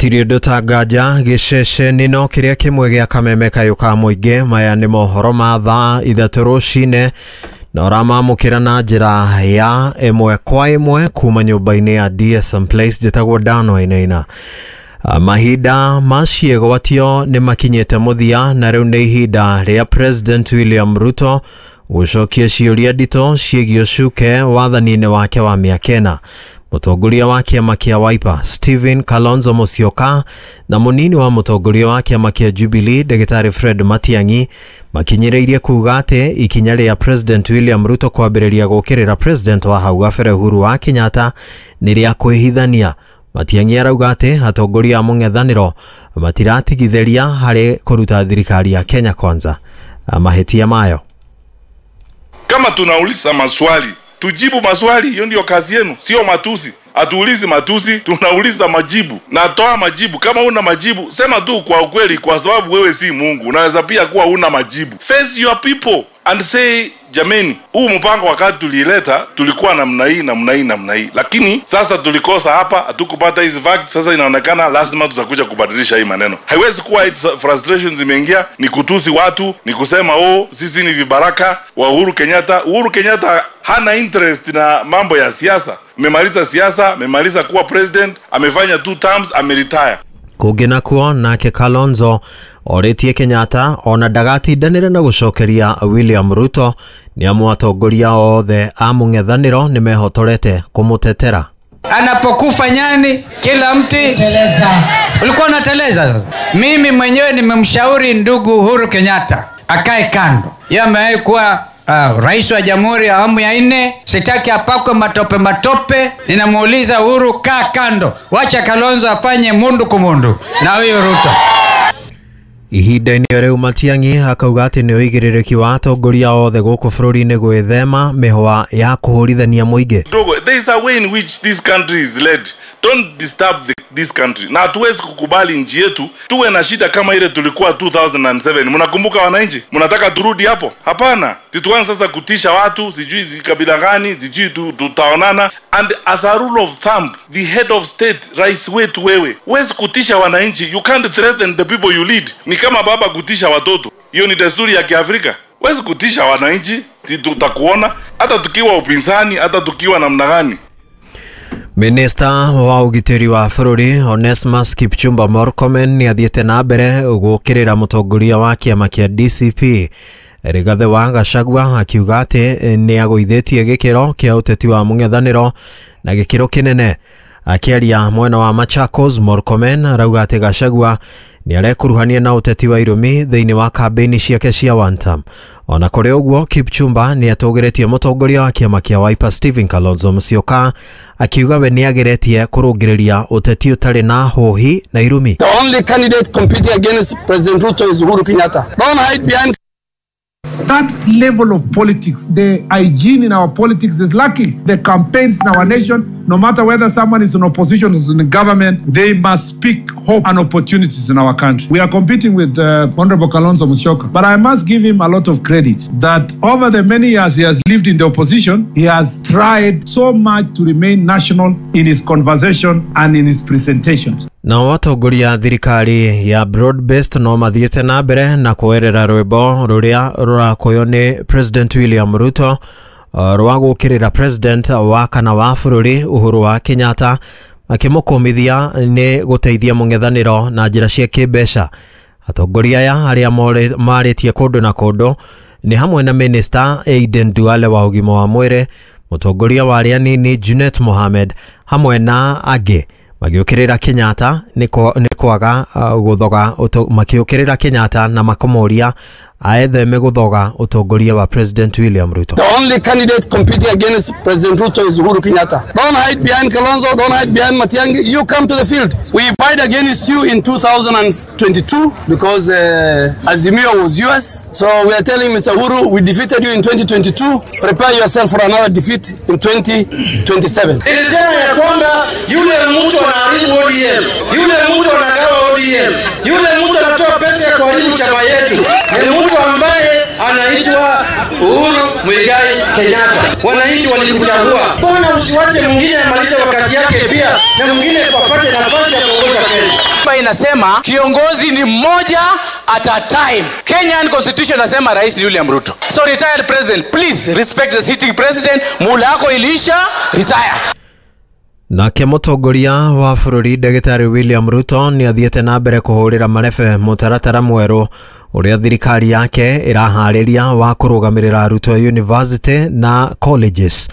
Gũtirĩ ũndũ ta nganja gĩceceni no kĩrĩa kĩmwe gĩa kameme kayũ ka mũingĩ. Maya nĩ mohoro ma thaa 3 rũcinĩ na ũramamũkĩra na njĩra ya ĩmwe kwa ĩmwe kuma nyũmba-inĩ ya DSM Place. Njĩtagwo Dan Wainaina. Mahinda ma ciĩgwatio nĩ makinyĩte mũthia na rĩu nĩ ihinda rĩa President William Ruto gũcokia ciũria nditũ ciĩgiĩ ũcuke wathani-inĩ wake wa mĩaka 4. Mũtongoria wa kĩama kĩa Wiper Stephen Kalonzo Musyoka na mũnini wa mũtongoria wa kĩama kĩa Jubilee Ndagĩtarĩ Fred Matiang'i makinyĩrĩirie kuuga atĩ ikinya rĩa President William Ruto kwambĩrĩria gũkĩrĩra President wa hau gabere Uhuru wa Kenyatta nĩ rĩa kwĩhithania. Matiang'i arauga atĩ atongoria a mũng'ethanĩro matiratigithĩria harĩ kũruta thirikari ya Kenya Kwanza mahĩtia mayo. Kama tunauliza maswali, tujibu maswali, hiyo ndio kazi yenu, sio matusi. Hatuulizi matusi, tunauliza majibu. Na toa majibu. Kama una majibu, sema tu kwa ukweli, kwa sababu wewe si Mungu. Unaweza pia kuwa una majibu. Face your people and say, jameni, huu mpango wakati tulileta, tulikuwa namna hii, namna hii, namna hii. Lakini sasa tulikosa hapa, hatukupata hizi facts, sasa inaonekana lazima tutakuja kubadilisha hii maneno. Haiwezi kuwa frustrations zimeingia, ni kutusi watu, ni kusema oh, sisi ni vibaraka wa Uhuru Kenyatta. Uhuru Kenyatta hana interest na mambo ya siasa. Amemaliza siasa, amemaliza kuwa president, amefanya 2 terms, ameretire. Kũngĩ nakuo nake Kalonzo orĩtie Kenyatta ona ndagatindanĩre na gũcokeria William Ruto nĩ amu atongoria othe a mũng'ethanĩro nĩ mehotorete kũmũtetera. Anapokufa nyani kila mti teleza. Ulikuwa unateleza sasa. Mimi mwenyewe nimemshauri ndugu Uhuru Kenyatta akae kando. Yeye amewahi kuwa rais wa jamhuri ya awamu ya 4, sitaki apakwe matope matope. Ninamuuliza Uhuru, kaa kando, wacha Kalonzo afanye mundu kumundu na huyo Ruto. Ihinda-inĩ rĩu Matiang'i akauga atĩ nĩ ũigĩrĩrĩki wa atongoria othe gũkũ bũrũri-inĩ gwĩthema mĩhwa ya kũhũrithania mũingĩ. There is a way in which this country is led. Don't disturb this country. Na hatuwezi kukubali nchi yetu tuwe na shida kama ile tulikuwa 2007. Mnakumbuka wananchi? Mnataka turudi hapo? Hapana. Tuanze sasa kutisha watu, sijui kabila gani, sijui tutaonana. And as a rule of thumb, the head of state, rais wetu wewe, huwezi kutisha wananchi. You can't threaten the people you lead. Ni kama baba kutisha watoto. Hiyo ni desturi ya Kiafrika. Huwezi kutisha wananchi, tutakuona hata tukiwa upinzani, hata tukiwa namna gani. Minista wa ũgitĩri wa bũrũri Onesmus Kipchumba Murkomen nĩ athiĩte na mbere gũkĩrĩra mũtongoria wa kĩama kĩa DCP Rigathi wa Gachagua akiuga atĩ nĩ agũithĩtie gĩkĩro kĩa ũteti wa mũng'ethanĩro na gĩkĩro kĩnene. Akĩaria mwena wa Machakos, Murkomen arauga atĩ Gachagua nĩ arekuruhania na ũteti wa irũmi thĩinĩ wa kambĩini ciake cia one term. Ona kũrĩ ũguo, Kipchumba nĩ atũgĩrĩtie mũtongoria wa kĩama kĩa Wiper Stephen Kalonzo Musyoka akiuga we nĩ ageretie kũrũngĩrĩria ũteti ũtarĩ na hũhi na irumi. The only candidate competing against President Ruto is Uhuru Kenyatta. Don't hide behind that level of politics. The hygiene in our politics is lacking. The campaigns in our nation, no matter whether someone is in opposition or in the government, they must speak hope and opportunities in our country. We are competing with Honorable Kalonzo Musyoka, but I must give him a lot of credit that over the many years he has lived in the opposition, he has tried so much to remain national in his conversation and in his presentations. Na atongoria thirikari ya broad based no mathiĩte na mbere na kwerera rwĩmbo rũrĩa rũrakoywo nĩ President William Ruto rwa gũkĩrĩra President wa kana wa bũrũri Uhuru wa Kenyatta akĩmũkũmithia nĩ gũteithia mũng'ethanĩro na njĩra cia kĩmbeca. Atongoria aya arĩa marĩtie kũndũ na kũndũ nĩ hamwe na Minister Aden Duale wa ũgima wa mwĩrĩ, mũtongoria wa arĩa anini Junet Mohamed hamwe na angĩ magĩũkĩrĩra Kenyatta nĩ kwaga gũthoga makĩũkĩrĩra Kenyatta na makamũria aetheme gũthoga ũtongoria wa President William Ruto. The only candidate competing against President Ruto is Uhuru Kenyatta. Don't hide behind Kalonzo, don't hide behind Matiang'i. You come to the field. We fight against you in 2022 because Azimio was yours. So we are telling Mr. Uhuru, we defeated you in 2022. Prepare yourself for another defeat in 2027. Nilisema ya kwamba yule mtu anaharibu ODM, yule mtu anagawa ODM, yule mtu anatoa pesa ya kuharibu chama yetu ni mtu ambaye anaitwa Uhuru Muigai Kenyatta. Wananchi walikuchagua. Mbona usiwache mwingine amalize wakati yake pia na mwingine apate nafasi ya kuongoza Kenya? Katiba inasema kiongozi ni mmoja at a time. Kenyan constitution inasema rais ni William Ruto. So retired president, please respect the sitting president. Muhula yako iliisha, retire. Nake mũtongoria wa bũrũri ndagĩtarĩ William Ruto nĩ athiĩte na mbere kũhũrĩra marebe mũtaratara mwerũ ũrĩa thirikari yake ĩraharĩria wa kũrũgamĩrĩra arutwo university na colleges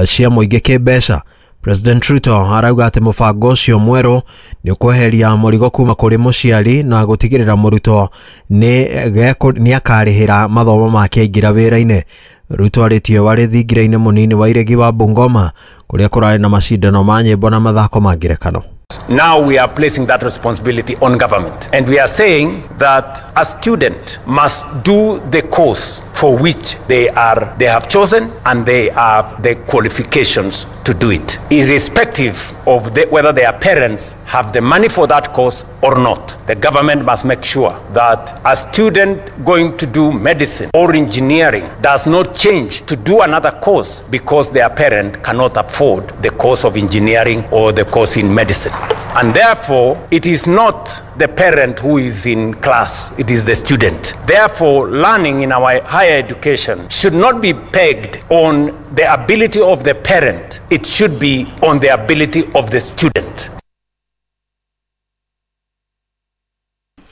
cia mũingĩ kĩmbeca. President Ruto arauga atĩ mũbango ũcio mwerũ nĩ ũkweheria mũrigo kuma kũrĩ mũciari na gũtigĩrĩra mũrutwo nĩ akarĩhĩra mathomo make aingĩra wĩra-inĩ. Ruto arĩtie warĩ thingira-inĩ mũnini wa iregi wa Bungoma kũrĩa kũrarĩ na macindano ma nyĩmbo na mathako ma ngerekano. Now we are placing that responsibility on government, and we are saying that a student must do the course for which they have chosen, and they have the qualifications to do it, irrespective of whether their parents have the money for that course or not. The government must make sure that a student going to do medicine or engineering does not change to do another course because their parent cannot afford the course of engineering or the course in medicine. And therefore, it is not the parent who is in class, it is the student. Therefore, learning in our higher education should not be pegged on the ability of the parent, it should be on the ability of the student.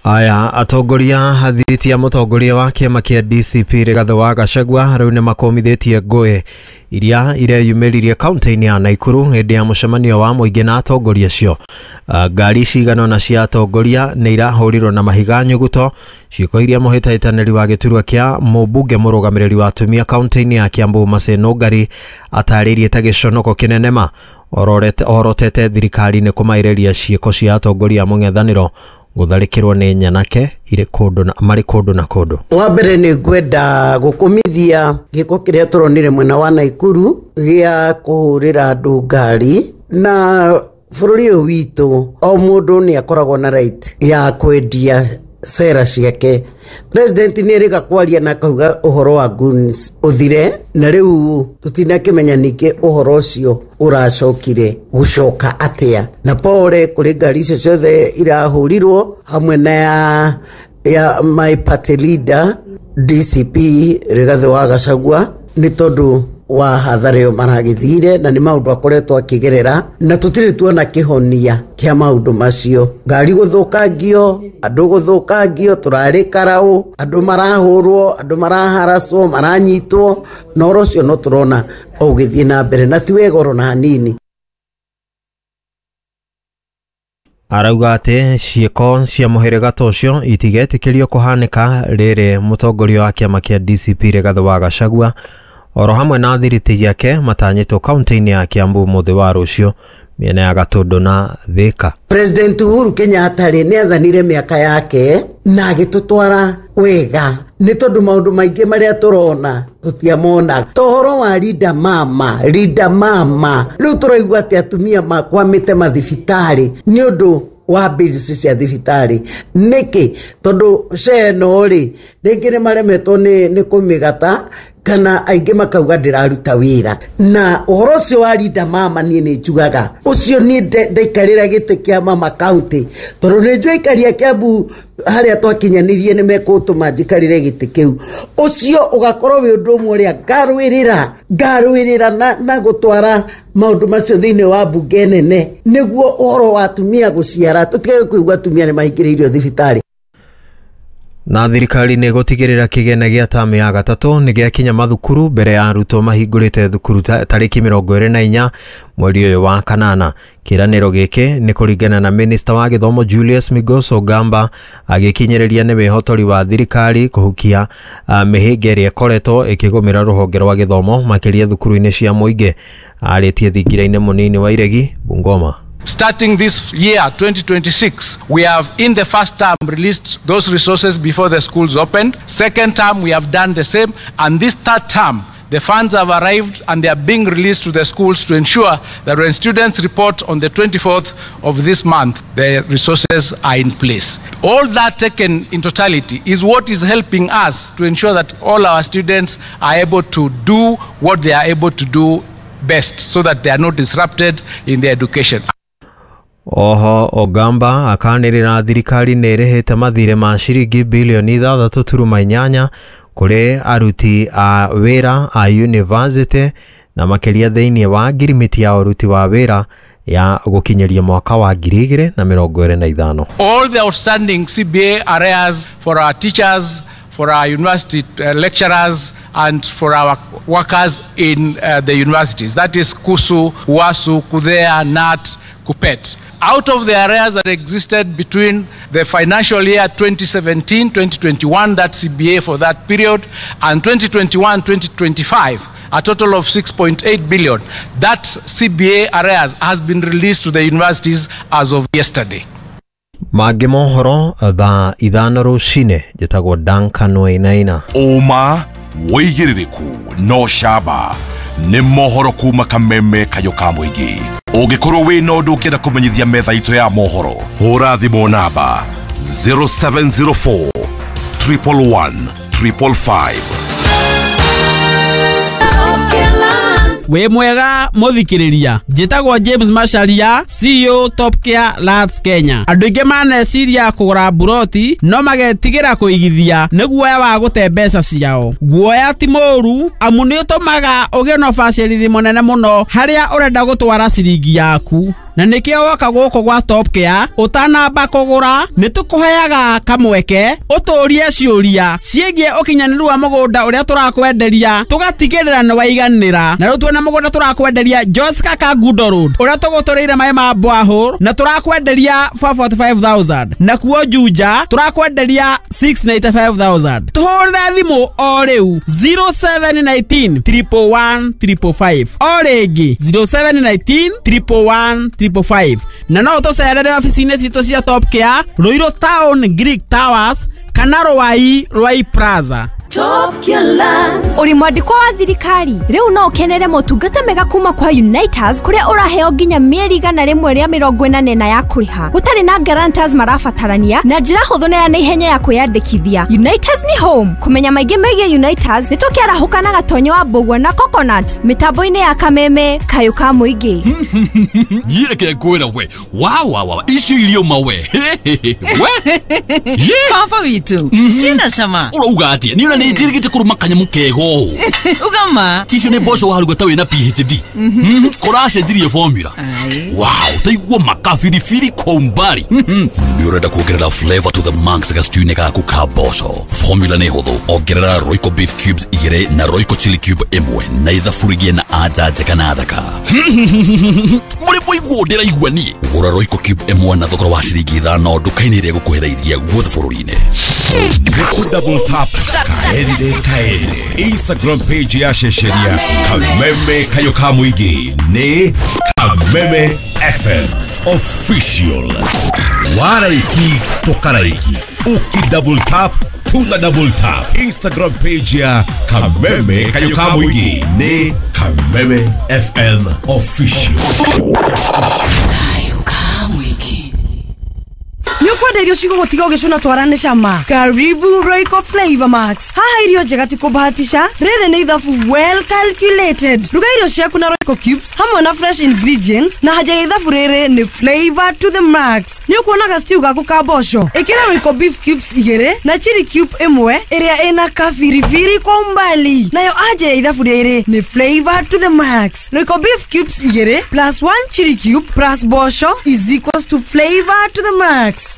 Aya atongoria athiriti ya mũtongoria wa kĩama kĩa DCP Rigathĩ wa Gachagua rĩu nĩ makomithĩtie ngũĩ iria ireyumĩririe kaunti-inĩ ya Nakuru hĩndĩ ya mũcemanio wa mũingĩ na atongoria acio. Ngari cigana ũna cia atongoria nĩ irahũrirwo na mahiga nyuguto, ciĩko iria mũhĩtahĩtanĩri wa gĩturwa kĩa mũmbunge mũrũgamĩrĩri wa atumia kaunti-inĩ ya Kiambu Mercy Nũngari atarĩirie ta gĩconoko kĩnene ma orotete thirikari nĩ kũmaĩrĩria ciĩko cia atongoria a mũng'ethanĩro gũtharĩkĩrwo nĩ nyanake irĩ kũndũ na marĩ kũndũ na kũndũ. Wa mbere nĩ ngwenda gũkũmithia gĩko kĩrĩa tũronire mwena wa Nakuru gĩa kũhũrĩra andũ ngari, na bũrũri ũyũ witũ o mũndũ nĩ akoragwo na right ya kwendia sera ciake. President nĩ erĩga kwaria na akauga ũhoro wa goons ũthire, na rĩu tũtinakĩmenya ningĩ ũhoro ũcio ũracokire gũcoka atĩa. Na pole kũrĩ ngari icio ciothe irahũrirwo hamwe na ya my party leader DCP Rigathĩ wa Gachagua nĩ tondũ wa hathara ĩyo maragĩthire, na nĩ maũndũ akoretwo akĩgerera na tũtirĩ tuona kĩhonia kĩa maũndũ macio. Ngari gũthũkangio, andũ gũthũkangio, tũrarĩ karaũ, andũ marahũrwo, andũ maraharacwo, maranyitwo, na ũhoro ũcio no tũrona ũgĩthiĩ na mbere na ti wega oro na hanini. Arauga atĩ ciĩko cia mũhĩrĩga ta ũcio itigetĩkĩrio kũhanĩka rĩrĩ mũtongoria wa kĩama kĩa DCP Rigathĩ wa Gachagua oro hamwe na athiriti gĩake matanyĩtwo kaunti-inĩ ya Kiambu mũthĩ wa rũciũ mĩena ya Gatũndũ na Thika. President Uhuru Kenyatta rĩ nĩ athanire mĩaka yake na agĩtũtwara wega, nĩ tondũ maũndũ maingĩ marĩa tũrona tũtiamona. Ta ũhoro wa Linda Mama, Linda Mama rĩu tũraigua atĩ atumia makwamĩte mathibitarĩ nĩ ũndũ wa bills cia thibitarĩ. Nĩkĩ? Tondũ SHA ĩno rĩ rĩngĩ nĩ maremetwo nĩ kũmĩgata, kana aingĩ makauga ndĩraruta wĩra. Na ũhoro ũcio wa Linda Mama niĩ nĩ njugaga ũcio niĩ ndaikarĩra gĩtĩ kĩa mama county, tondũ nĩ njũĩ aikaria Kiambu harĩa twakinyanirie nĩ mekũtũma njikarĩre gĩtĩ kĩu. Ũcio ũgakorwo wĩ ũndũ ũmwe ũrĩa ngarũĩrĩra na gũtwara maũndũ macio thĩinĩ wa mbunge nene, nĩguo ũhoro wa atumia gũciara tũtige kũigua atumia nĩ mahingĩrĩirio thibitarĩ. Na thirikari nĩ gũtigĩrĩra kĩgĩna gĩa tamu ya gatatũ nĩ gĩakinya mathukuru mbere ya arutwo mahingũrĩte thukuru tarĩki 24 mweri ũyũ wa kanana. Kĩranĩro gĩkĩ nĩ kũringana na minista wa gĩthomo Julius Migos Ogamba agĩkinyĩrĩria nĩ wĩhotori wa thirikari kũhukia mĩhĩnga ĩrĩa ĩkoretwo ĩkĩgũmĩra rũhonge rwa gĩthomo makĩria thukuru-inĩ cia mũingĩ. Arĩtie thingira-inĩ mũnini wa Iregi, Bungoma. Starting this year, 2026, we have in the first term released those resources before the schools opened. Second term, we have done the same. And this third term, the funds have arrived and they are being released to the schools to ensure that when students report on the 24th of this month, the resources are in place. All that taken in totality is what is helping us to ensure that all our students are able to do what they are able to do best so that they are not disrupted in their education. Oho Ogamba akanĩrĩra thirikari nĩ ĩrĩhĩte mathirĩ ma ciringi bilioni 6.8 kũrĩ aruti a wĩra a university na makĩria thĩinĩ wa ngirimiti ya ũruti wa wĩra ya gũkinyĩria mwaka wa 2025. All the outstanding CBA arrears for our teachers, for our university lecturers, and for our workers in the universities. That is KUSU, UASU, KUDHEA, NAT, KUPPET. Out of the arrears that existed between the financial year 2017-2021, that CBA for that period, and 2021-2025, a total of 6.8 billion, that CBA arrears has been released to the universities as of yesterday. Mangĩ mohoro thaa 5 rũcinĩ. Njĩtagwo Duncan Wainaina. Ũma wĩigĩrĩrĩku no camba nĩ mohoro kuma Kameme Kayũ ka Mũingĩ. Ũngĩkorwo wĩna ũndũ ũngĩenda kũmenyithia metha itũ ya mohoro, hũra thimũ namba 0704 111 555. Wĩ mwega mũthikĩrĩria, njĩtagwo James Macharia, CEO Top Care Lands Kenya. Andũ aingĩ maneciria kũgũra mburoti no magetigĩra kũigithia nĩ guoya wa gũte mbeca ciao. Guoya ti mũũru amu nĩ ũtũmaga ũgĩe na ũbacĩrĩri mũnene mũno harĩa ũrenda gũtwara ciringi yaku. Na nĩkĩo woka gũkũ gwa Top Care ũtanamba kũgũra nĩ tũkũheaga kamweke ũtũrie ciũria ciĩgiĩ ũkinyanĩru wa mũgũnda ũrĩa tũrakwenderia tũgatigĩrĩra nĩ waiganĩra. Na rĩu tuona mũgũnda tũrakwenderia Joska Kangundo Road ũrĩa tũgũtũrĩire maĩ ma borehole na tũrakwenderia 445,000, na kuo Juja tũrakwenderia 695,000. Tũhũrĩre thimũ o rĩu 0719 111 555, o rĩngĩ 0719 111 555. Na no tũcerere ofici-inĩ citũ cia Top Care Ruiru Town Greek Towers kana Ruai Ruai Plaza. Top Care Lands. Uri mwandĩkwo wa thirikari rĩu no ũkenere motungata mega kuma kwa Uniters kũrĩa ũraheo nginya mĩeri 184 ya kũrĩha gũtarĩ na guarantors marabatarania na njĩra hũthũ na ya naihenya ya kwĩyandĩkithia. Uniters ni home. Kũmenya maingĩ megiĩ Uniters nĩ tũkĩarahũka na Gatonyo wa Mbũgua na Coconut mĩtambo-inĩ ya Kameme Kayũ ka Mũingĩ. Niĩ reke ngwĩre we wa icio irio mawe we baba witũ ciĩna cama. Ũrauga atĩa? Niĩ ona nĩ njĩrĩgĩte kũrũma kanyamũ kega ũũ. Ugama icio nĩ mboco waruga ta wĩna PhD. Kũracenjirie formula. Wow, taigua makabiribiri kwa umbali. Nĩ ũrenda kuongerera flavor to the max gastew-inĩ gaku ka mboco. Formula nĩ hũthũ, ongerera Royco beef cubes 2 na Royco chili cube 1 na ithaburigie na anja njega na thaka. Mũrĩ mũiguo ndĩraigua niĩ. Gũra Royco cube 1 na thogora wa ciringi 5 nduka-inĩ ĩrĩa ĩgũkuhĩrĩirie guothe bũrũri-inĩ. Double tap kaende kaende. Instagram page ya Shesheria Kameme Kayũ ka Mũingĩ nĩ Kameme FM Official. Waraiki tokaraiki, uki double tap tuna double tap. Instagram page ya Kameme Kayũ ka Mũingĩ nĩ Kameme FM Official. Kayũ ka Mũingĩ. Nĩũkwenda irio cigũgũtiga ũgĩcũna twarane cama. Karibu Royco Flavor Max. Haha irio njega ti kũbahatisha, rĩrĩ nĩ ithabu well calculated. Ruga irio ciaku na Royco cubes hamwe na fresh ingredients, na haja ya ithabu rĩrĩ nĩ flavor to the max. Nĩũkuonaga stew gaku ka mboco, ĩkĩra Royco beef cubes 2 na chili cube 1 ĩrĩa ĩna kabiribiri kwa umbali. Nayo haja ya ithabu rĩrĩ nĩ flavor to the max. Royco beef cubes 2 plus 1 chili cube plus mboco is equals to flavor to the max.